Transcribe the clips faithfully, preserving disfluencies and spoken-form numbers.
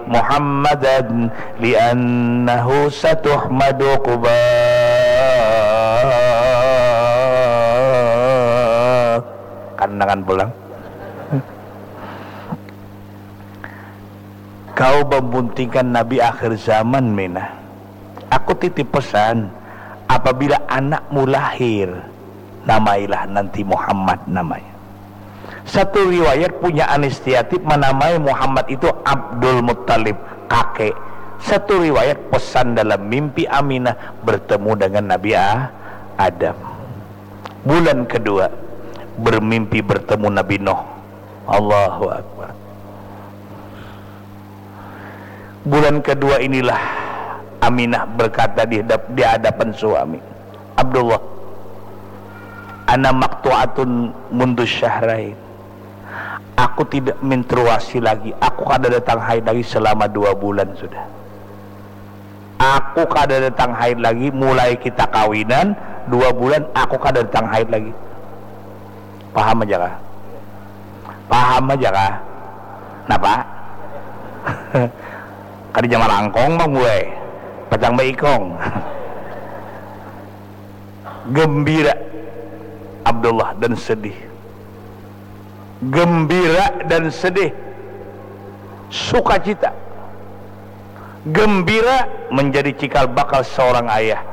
Muhammadan li'annahu satuhmadu uqba. Kandangan pulang. Kau membuntingkan Nabi akhir zaman, Mina. Aku titip pesan, apabila anakmu lahir, namailah nanti Muhammad namanya. Satu riwayat punya Anistiatib menamai Muhammad itu Abdul Muttalib, kakek. Satu riwayat pesan dalam mimpi Aminah bertemu dengan Nabi A-, Adam. Bulan kedua, bermimpi bertemu Nabi Nuh. Allahu Akbar. Bulan kedua inilah Aminah berkata di hadap-, di hadapan suami, "Abdullah, ana maktu'atun mundu syahrain. Aku tidak menstruasi lagi. Aku kada datang haid lagi selama dua bulan sudah. Aku kada datang haid lagi, mulai kita kawinan, dua bulan aku kada datang haid lagi." Paham aja kah? Paham aja kah? Napa? Kada jama langkong bang gue. Pacang baikong. Gembira Abdullah dan sedih. Gembira dan sedih. Sukacita. Gembira menjadi cikal bakal seorang ayah.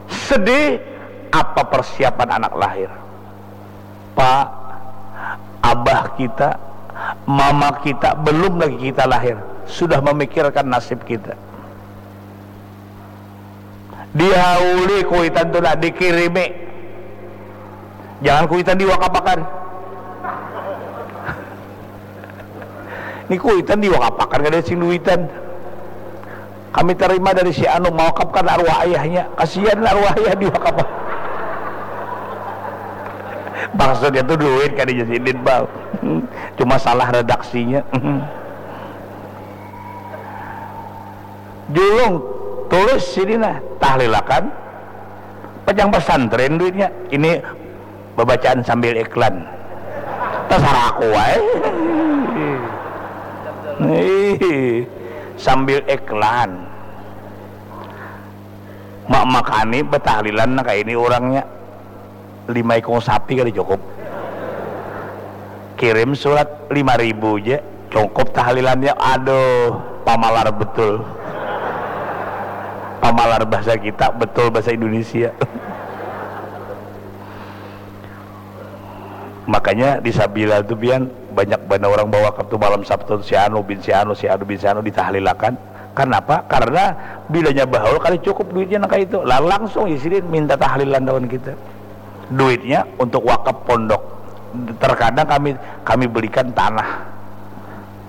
Sedih apa persiapan anak lahir. Pak, abah kita, mama kita, belum lagi kita lahir, sudah memikirkan nasib kita. Dihauli kuitan tu lah, dikirimi. Jangan kuitan diwakapakan. Ni kuitan diwakapakan kada sing duitan. Kami terima dari si anu mawakapkan arwah ayahnya. Kasihan arwah ayah diwakapkan. Maksudnya tu duit kada jadi sidin, Bang. Cuma salah redaksinya. Julung, tulis sini nah, tahlilakan. Pajang pesantren duitnya. Ini babacaan sambil iklan. Tasarah aku wae. Ih, sambil iklan. Mak makani betahlilan nah kaini urangnya. Lima ikung sapi kada cukup. Kirim surat lima ribu ja. Cukup tahlilannya, aduh, pamalar betul. Pamalar bahasa kita, betul bahasa Indonesia. Makanya di Sabila tu pian banyak banar orang bawakaf tu malam Sabtu, si anu bin si anu, si anu bin si anu ditahlilakan. Karnapa? Karena bilanya bahaul kada cukup duitnya nang kaya itu. Lah langsung ya sidin minta tahlilan lawan kita. Duitnya untuk wakaf pondok. Terkadang kami, kami belikan tanah.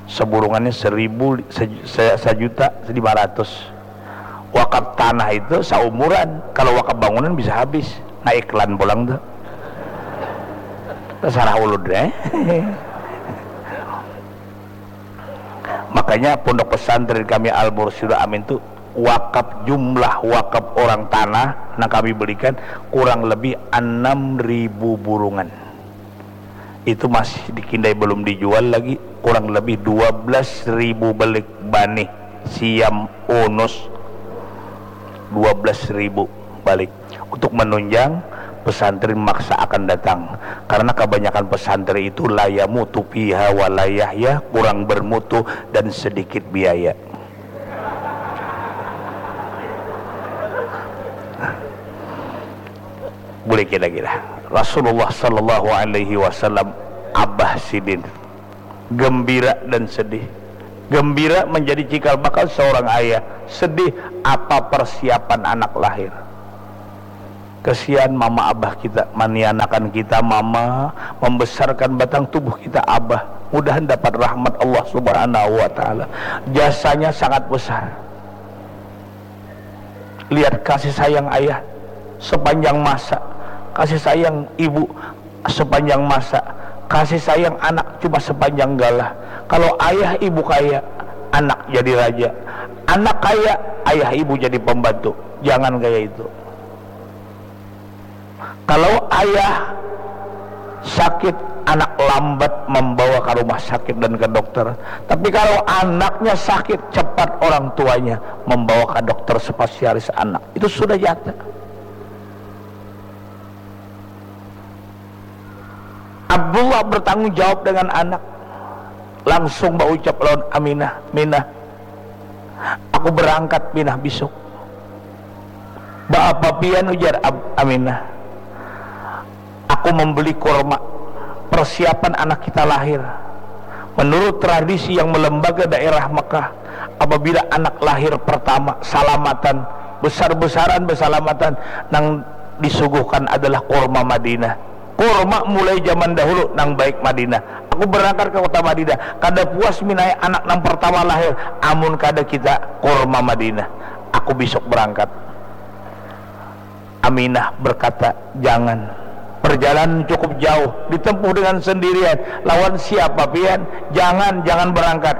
Seburungannya seribu, se-, se-, sajuta lima ratus. Wakaf tanah itu saumuran. Kalau wakaf bangunan bisa habis. Nah, iklan pulang tu. Terserah ulun, eh. Makanya pondok pesantren kami Al Mursyidul Amin tu wakaf, jumlah wakaf orang tanah nang kami belikan kurang lebih enam ribu burungan. Itu masih dikindai, belum dijual lagi, kurang lebih dua belas ribu belik banih siam unus. Dua belas ribu balik. Untuk menunjang, pesantren maksa akan datang. Karena kebanyakan pesantren itu la yamutu fiha wa la yahya, kurang bermutu dan sedikit biaya. Boleh kira-kira. Rasulullah sallallahu alaihi wasallam, abah sidin, gembira dan sedih. Gembira menjadi cikal bakal seorang ayah, sedih apa persiapan anak lahir. Kesian mama abah kita, manianakan kita mama, membesarkan batang tubuh kita abah. Mudahan dapat rahmat Allah Subhanahu wa Ta'ala. Jasanya sangat besar. Lihat kasih sayang ayah sepanjang masa, kasih sayang ibu sepanjang masa, kasih sayang anak cuma sepanjang galah. Kalau ayah ibu kaya, anak jadi raja. Anak kaya, ayah ibu jadi pembantu. Jangan kaya itu. Kalau ayah sakit, anak lambat membawa ke rumah sakit dan ke dokter. Tapi kalau anaknya sakit, cepat orang tuanya membawa ke dokter spesialis anak. Itu sudah nyata. Abdullah bertanggung jawab dengan anak. Langsung baucap lawan Aminah, "Minah, aku berangkat, Minah, bisuk." "Baapa pian?" ujar Ab-, Aminah. "Aku membeli kurma, persiapan anak kita lahir. Menurut tradisi yang melembaga daerah Mekah, apabila anak lahir pertama salamatan, besar-besaran bersalamatan, nang disuguhkan adalah kurma Madinah. Kurma mulai zaman dahulu nang baik Madinah. Aku berangkat ke kota Madinah. Kada puas minaya anak nang pertama lahir, amun kada kita kurma Madinah. Aku bisuk berangkat." Aminah berkata, "Jangan. Perjalanan cukup jauh, ditempuh dengan sendirian. Lawan siapa pian? Jangan, jangan berangkat.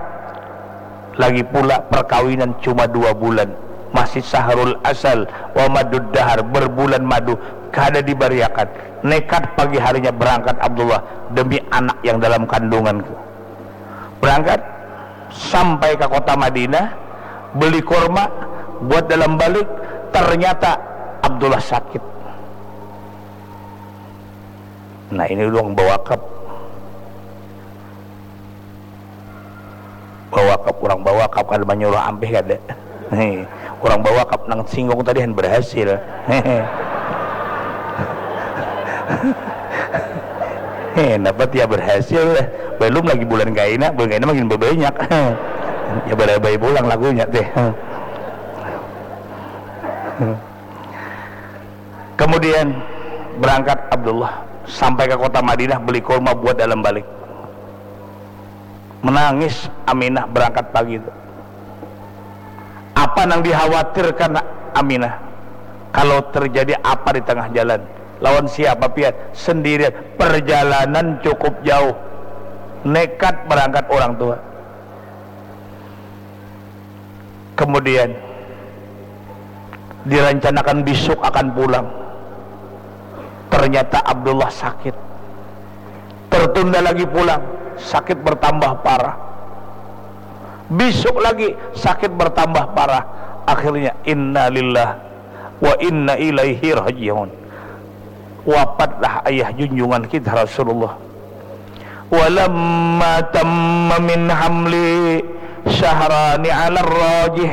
Lagi pula perkawinan cuma dua bulan. Masih sahrul asal, wa madud dahar, berbulan madu, kada dibariakan." Nekat pagi harinya berangkat Abdullah demi anak yang dalam kandunganku. Berangkat sampai ke kota Madinah, beli kurma, buat dalam balik, ternyata Abdullah sakit. Nah, ini urang bawakaf. Bawakaf, urang bawakaf kada manyuruh ampih kada. Hei, urang bawakaf nang singgung tadi han berhasil. Hei, dapat ya berhasil. Belum lagi bulan kaina, bulan kaina makin berbanyak. Ya barabai pulang lagunya teh. Kemudian berangkat Abdullah sampai ke kota Madinah, beli kurma buat dalam balik. Menangis Aminah berangkat pagi itu. Apa nang dikhawatirkan Aminah? Kalau terjadi apa di tengah jalan? Lawan siapa pian? Sendirian. Perjalanan cukup jauh. Nekat berangkat orang tua. Kemudian dirancanakan bisuk akan pulang. Ternyata Abdullah sakit. Tertunda lagi pulang, sakit bertambah parah. Bisuk lagi, sakit bertambah parah. Akhirnya, innalillah wa inna ilaihi rajiun. Wapatlah ayah junjungan kita Rasulullah. Walamma tamma min hamli syahrani ala rajih.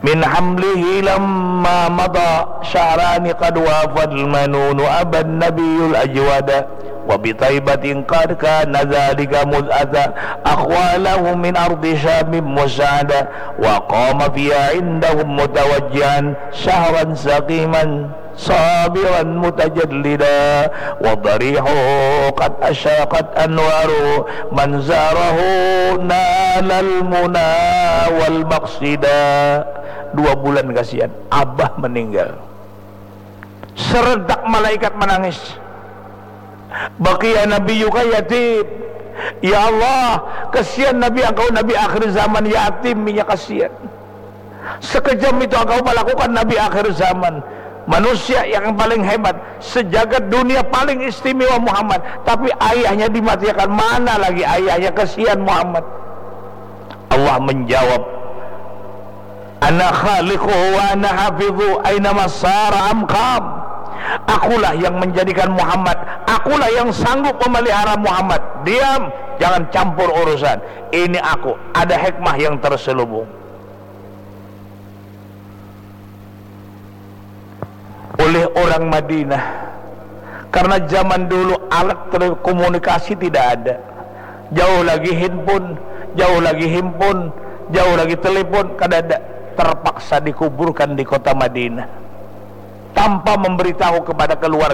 Min hamlihi lamma mada syahrani qad wafal manunu aban nabiyul ajwada wa bitaibatin qad kana dzalika mud'ata akhwalahu min ardi syamin musa'ada wa qama fiha indahum mutawajjihan syahran saqiman sabiran mutajallida wa darihu qad asyaqat anwaru man zarahu nalal muna wal maqsida. Dua bulan kasihan, abah meninggal. Serentak malaikat menangis. Baqiya nabiyuka yatim. Ya Allah, kesian Nabi engkau, Nabi akhir zaman, yatim inya, kesian. Sekejam itu engkau melakukan Nabi akhir zaman. Manusia yang paling hebat, sejagat dunia paling istimewa Muhammad. Tapi ayahnya dimatiakan, mana lagi ayahnya, kesian Muhammad. Allah menjawab, "Ana khaliquhu wa ana hafidhu, aina masara amkam." Akulah yang menjadikan Muhammad, akulah yang sanggup memelihara Muhammad. Diam, jangan campur urusan. Ini aku, ada hikmah yang terselubung. Oleh orang Madinah. Karena zaman dulu alat telekomunikasi tidak ada. Jauh lagi handphone, jauh lagi handphone, jauh lagi telepon, kada ada. Terpaksa dikuburkan di kota Madinah. Tanpa memberitahu kepada keluarga.